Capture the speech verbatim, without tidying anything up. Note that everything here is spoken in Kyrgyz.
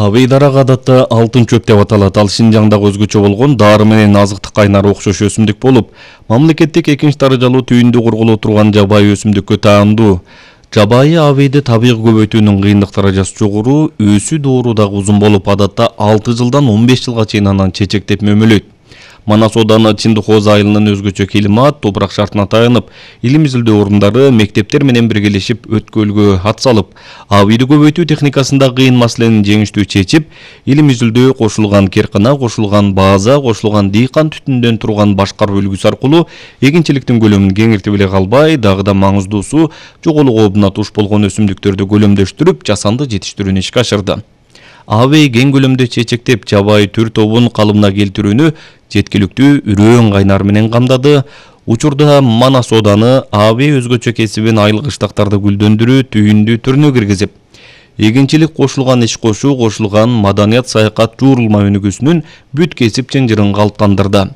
Авейдарак адатта алтын чөп деп аталат. Ал Шинжаңдагы өзгөчө болгон дары менен азыктык кайнары окшош өсүмдүк болуп, мамлекеттик экинчи даражалуу түйүндү кургулуу турган жабайы өсүмдүккө таандуу. Жабайы авейди табигый көбөйтүүнүн кыйындык даражасы жогору, өсүү доору дагы узун болуп, адатта алты жылдан он беш жылга чейин анан чечектеп мөмөлөйт. Манас Ооданы Чындык-Кооз айылынын өзгөчө климат, топурак шартына таянып, илим изилдөө орундары мектептер менен биргелешип өткөлгө ат салып, авейди көбөйтүү техникасында кыйын маселени жеңиштүү чечип, илим изилдөө кошулган керкана, кошулган база, кошулган дыйкан түтүндөн турган башкаруу үлгүсү аркылуу эгинчиликтин көлөмүн кеңиртип эле калбай, дагы да маңыздуусу жоголуу коопуна туш болгон өсүмдүктөрдү көлөмдөштүрүп, жасанды жетиштирүүнү ишке ашырды. Авей кең көлөмдө чечектеп, жабайы түр тобун калыбына келтирүүнү жеткиликтүү үрөөн кайнар менен камдады. Учурда Манас Ооданы авей өзгөчө кесибин айыл кыштактарды гүлдөндүрүү түйүндү түрүнө киргизип, эгинчилик кошулган иш кошуу, кошулган маданият, саякат, жуурулма өнүгүүсүнүн бүт кесип чынжырын калыптандырды.